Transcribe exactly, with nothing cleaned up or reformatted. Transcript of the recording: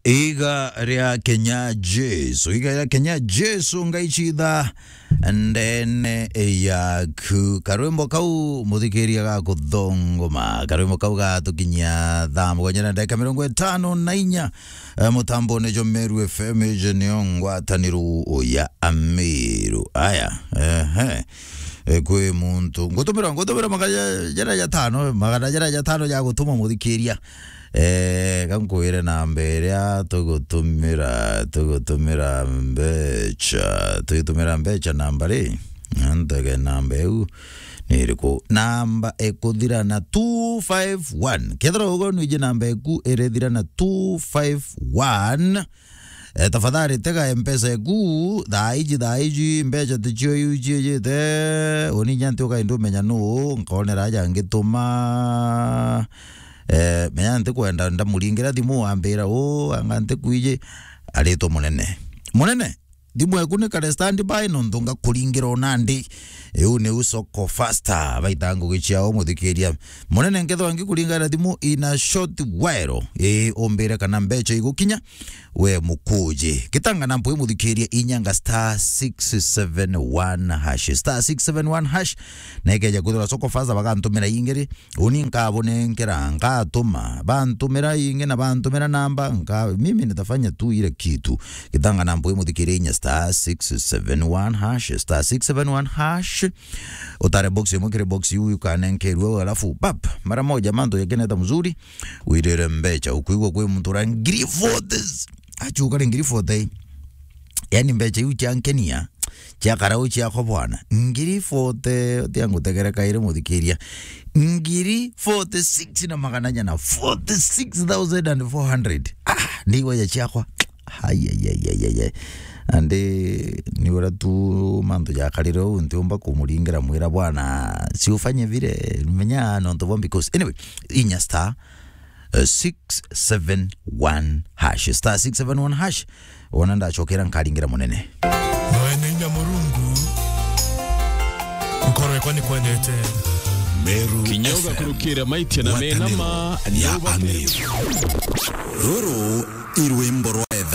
Iga ria Kenya Jesu, iga ria Kenya Jesu, Ngai citha ndene yaku. Karwimbo kau muthikiria ga kuthongoma, karwimbo kau gatukinyia thaa mugwanja na ndagika mirongo itano na inya, eh, mutambone jwa Meru F M, ije nio ngwataniro ya Ameru. Aya, ehe. Eh, kwi muntu ngutumira, ngutumira magana jara jatano, magana jara jatano ja gutuma muthikiria. Eh, ka nkwire namba iria tugutumira, tugutumira mbeca, tugitumira mbeca namba ri? Ntege namba iu ni iriku? Namba ikuthira na two five one. Kethira ugo nwiji namba iku irithira na two five one, eh, tafadhali tega Mpesa iku thaa iji, thaa iji, mbeca ticio iu ciijite. Uni nya nti ukaindi umenya nu nkonera aja ngituma. Eh, menya ntikwenda ndamuringira thimu ambira, "U, anga ntikwiji." Aritwa munene. Munene, thimu eku ni kare standby nontu ngakuringira o nandi. Iu niu Soko Faster, baita ngugi ciao muthikiria. Munene, nkethwa ngikuringira thimu in a short while, ii, umbire kana mbeca igukinya, we mukuji. Gitanga na mpwi muthikiria, inyanga star six seven one hash. Star six seven one hash, na ikeja kwithirwa Soko Faster bagantumira ingiri, uni nkabunenkera, nkatuma, bantumira ingi na bantumira namba, nka-, mimi nitafanya tu ile kitu. Gitanga na mpwi muthikiria, inya star six seven one hash, star six seven one hash. Utare box imwe kiri box iu ukanenkerua, alafu pap, mara moja mantu yakeneta mzuri, wirire mbeca, ukwigua kwi muntu ura ngiri forty. Achuka ri ngiri forty. Yani mbeca iu ciankenia, ciakara u ciakwa bwana. Ngiri forty, utia ngutegere kairi muthikiria. Ngiri forty-six na magana jana, forty-six thousand and four hundred. Ah, ndigwa ya ciakwa. Hai, ai, ai, ai, ai, ai. Andi ni ura tu mantu jakarire u, ntiumba kumuringira mwira, "Bwana, si ufanye vile, menya nontu bwa," because anyway, inya star, eh, six seven one hash, star six seven one hash. Wona ndacokera nkaringira munene. Mwene inya Murungu, nkoro yakwa ni kwendete. Meru Kinyoga F M. Kurukira maitia na menama, ngwataniro ya Ameru. Ruru i rwimbo rwa etha.